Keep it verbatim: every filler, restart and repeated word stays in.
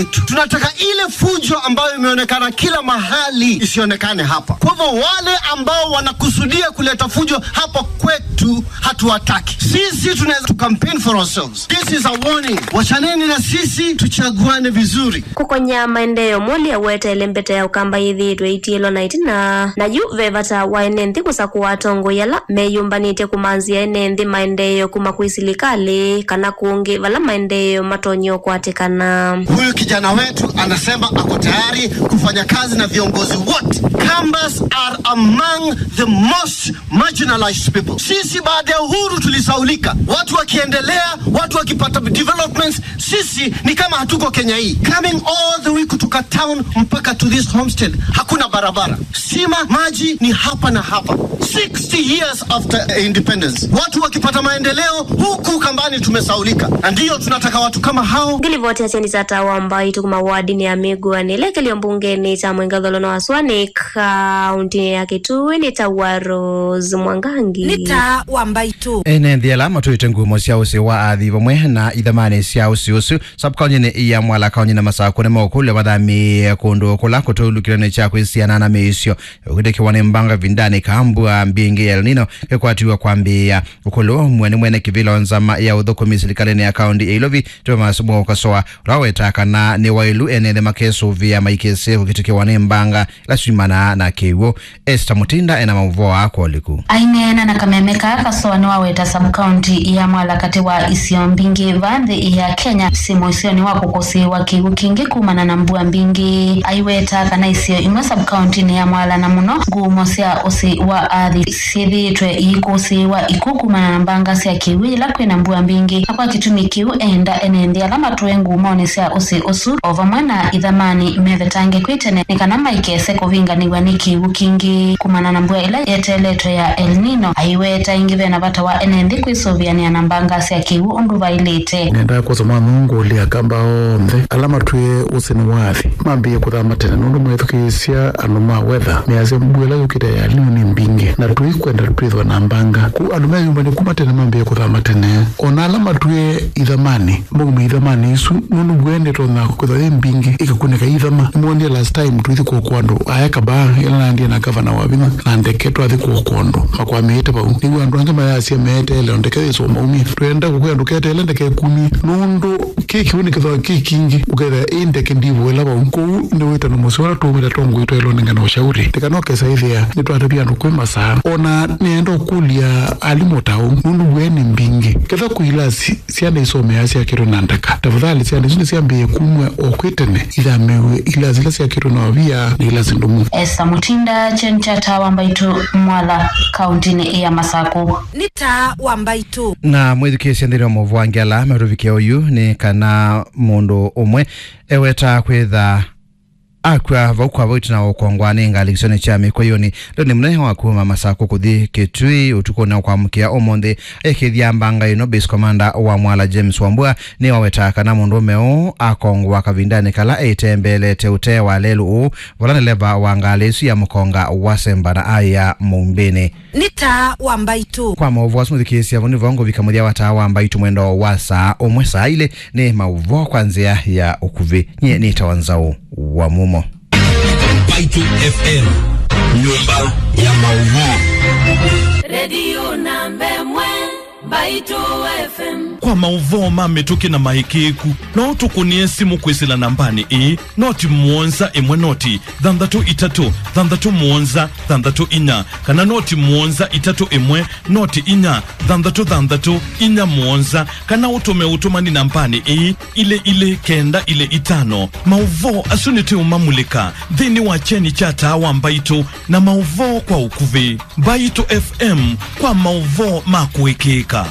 Tunataka ile fujo ambayo imeonekana kila mahali isionekane hapa. Kwa hivyo wale ambao wanakusudia kuleta fujo hapa kwetu hatuwataki. Sisi tunaweza to campaign for ourselves. This is a warning. Wachaneni na sisi, tuchaguane vizuri. Kũkonya maendeeo, Mwoli aweteele mbete ya Ũkamba yĩthĩĩtwe ĩtiĩlwa na ĩtina, na yu ve vata wa ene nthĩ kũsakũa atongoi ala meyũmbanĩtye kũmanzĩa ene nthĩ maendeeo kuma kwĩ silikalĩ kana kũngĩ vala maendeeo matonya ũkwatĩkana. Huyu kijana wetu anasema ako tayari kufanya kazi na viongozi wote. Kambas are among the most marginalized people. Sisi baada ya uhuru tulisaulika. Watu wakiendelea, watu wakipata developments, sisi ni kama hatuko Kenya hii. Coming all the way kutoka town mpaka to this homestead, hakuna barabara. Sima, maji ni hapa na hapa. Sixty years after independence. Watu wakipata maendeleo, huku Kambani tumesaulika. Na ndiyo tunataka watu kama hao. Ngilivoti ya Kyeni kya Taa wa Mbaitũ kuma wardinĩ ya Mĩgũanĩ, ĩla ĩkĩlyo mbungenĩ kya Mwingatholo na Waswa nĩ kaũntĩnĩ ya Kitui, nĩ ta wa Rose Mwangangi. Nĩ Taa wa Mbaitũ. Ene nthĩ ala matũĩte ngumo sya ũsĩ wa athi vamwe na ithamanĩ sya ũsĩ ũsu sub-kaũntĩnĩ ya Mwala, kaũntĩnĩ ya Masakũ, nĩmaũkũlw'a mathamĩĩe kũndũ kũla kũtũlũkĩlwe nĩ kya kwĩsiana na mĩisyo ũkĩtĩkĩwa nĩ mbanga ĩvindanĩ ka mbua mbingĩ ya El Nino kĩkwatiwa kwambĩĩa. Ũkũlũ ũmwe nĩ mwene kĩvĩla wa nzama ya ũthũkũmi silikalĩnĩ ya kaũntĩ ya Ilovi, Thomas Mwokosoa, ũla wetaa kana nĩ waĩlu ene nthĩ makesũvĩa maikese kũkĩtĩkĩwa nĩ mbanga ila syumanaa na kĩw'ũ. Esther Mutinda ena maũvoo aa kwa ũliku. Aineena na kameme kaa, Kasoa nĩwaweta sub-county ya Mwala katĩ wa isio mbingĩ vaa nthĩ ya Kenya syĩ mũisyonĩ wa kũkũsĩĩwa kĩw'ũ kingĩ kumana na mbua mbingĩ. Aiweta kana isio imwe sub-county-nĩ ya Mwala, na mũno ngumo sya ũsĩ wa athi, syĩthĩĩtwe iikũsĩĩwa ikw'ũ kumana na mbanga sya kĩw'ũ yĩla kwĩna mbua mbingĩ, na kwa kĩtumi kĩu eenda ene nthĩ ala matũe ngumonĩ sya ũsĩ ũsu o vamwe na ithamanĩ mevetange kwĩ tene nĩ kana maikese kũvinganĩw'a nĩ kĩw'ũ kingĩ kumana na mbua ĩla yeteeletwe ya El Nino. Aiweta ĩngĩ ve na vata wa ene nthĩ kwĩsũvĩanĩa na mbanga sya kĩw'ũ ũndũ vaĩlĩte. Nendaa kwosa mwanũngũlya Akamba onthe ala matwĩe ũsĩ nĩ wathi mambĩĩe kũthama tene, nũndũ methukĩĩsya andũ ma weather measya mbua ĩla yũkĩte ya El Nino nĩ mbingĩ, na tũikwenda twĩthwa na mbanga. Kwoou andũ meyũmbanĩe kuma tene mambĩĩe kũthama tene. O na ala matwĩe ithamanĩ, maume ithamanĩ isu, nũndũ mbua ĩno nĩtonya kwĩthwa yĩ mbingĩ ĩkakunĩka ithama. Nĩmwonie last time tũithi kũokoa andũ aya Kabaa, ĩla naendie na gavana Wavinya na ndeke twathi kũokoa andũ makwamĩĩte vau. Nĩw'o andũ angĩ mayasya meeteele o ndeke yĩsũe maumye. Twenda kũkwĩa ndũketeele ndeke ĩkumye, nũndũ kĩ kĩw'ũ nĩkĩthwa kĩ kingĩ, ũkethĩa ĩ ndeke ndivũĩla vau. Kwoou nĩ wĩtano mũseo ũla tũũmĩte tongoi twaĩlwe nengane ũshauri. Nĩ kana ũkesa ĩthĩa nĩtwatavya andũ kwĩ masaa. O na nĩenda ũkũlya alimũ ta ũu, nũndũ mbua nĩ mbingĩ. Ketha kwĩ ilasi syana isomeaa syakĩtwe na ndaka, tafadhali syana isu nĩsyambĩĩe kumw'a o kwĩ tene, ithamĩw'e ilasi ila syakĩtwe na ovia na ilasi ndũmu. Esther Mutinda, Kyeni kya Taa wa Mbaitũ, Mwala, kaũntĩnĩ ya Masakũ. Nĩ Taa wa Mbaitũ. Na mwĩthukĩĩsye nthĩnĩ wa maũvoo angĩ ala matũvikĩe oyu nĩ kana mũndũ ũmwe ewetaa kwĩtha akw'a vau kwa vau ĩtina wa ũkongwa nĩ ngalĩ kĩsionĩ kya Mĩkũyũnĩ. Lĩu nĩ mũnene wa kuma Masakũ kũthi Kĩtui ũtukũnĩ wa kwamũkĩa ũmũnthĩ. Ekĩthya mbanga ĩno, base commander wa Mwala James Wambua nĩwawetaa kana mũndũũme ũũ akongwa kavindanĩ kala eĩtembeelete ũtee wa lelũ ũũ, vala ndeleva wa ngalĩ ĩsu ya mũkonga wasemba na aya mũumbĩnĩ. Nĩ Taa wa Mbaitũ. Kwa maũvoo asu mũthikĩĩsya, vau nĩvo ngũvika mũthya wa Taa wa Mbaitũ mwendo wa saa ũmwe saa ilĩ. Nĩ maũvoo kwa nzĩa ya ũkuvĩ. Nyie nĩtawa Nzaũ wa Mumo. Mbaitũ F M, nyũmba ya maũvoo. Redio namba ĩmwe, Mbaitũ F M. Kwa maũvoo ma mĩtũkĩ na maĩkĩĩku, no ũtũkũnĩe simũ kwĩsĩla nambanĩ ĩĩ, noti mũonza ĩmwe noti thanthatũ itatũ thanthatũ mũonza thanthatũ inya, kana noti mũonza itatũ ĩmwe noti inya thanthatũ thanthatũ inya mũonza, kana ũtũme ũtũmani nambanĩ ĩĩ, ilĩ ilĩ kenda ilĩ itano. Maũvoo asu nĩtũũmamulĩka nthĩnĩ wa kyeni kya Taa wa Mbaitũ na maũvoo kwa ũkuvĩ. Mbaitũ F M kwa maũvoo ma kũĩkĩĩka.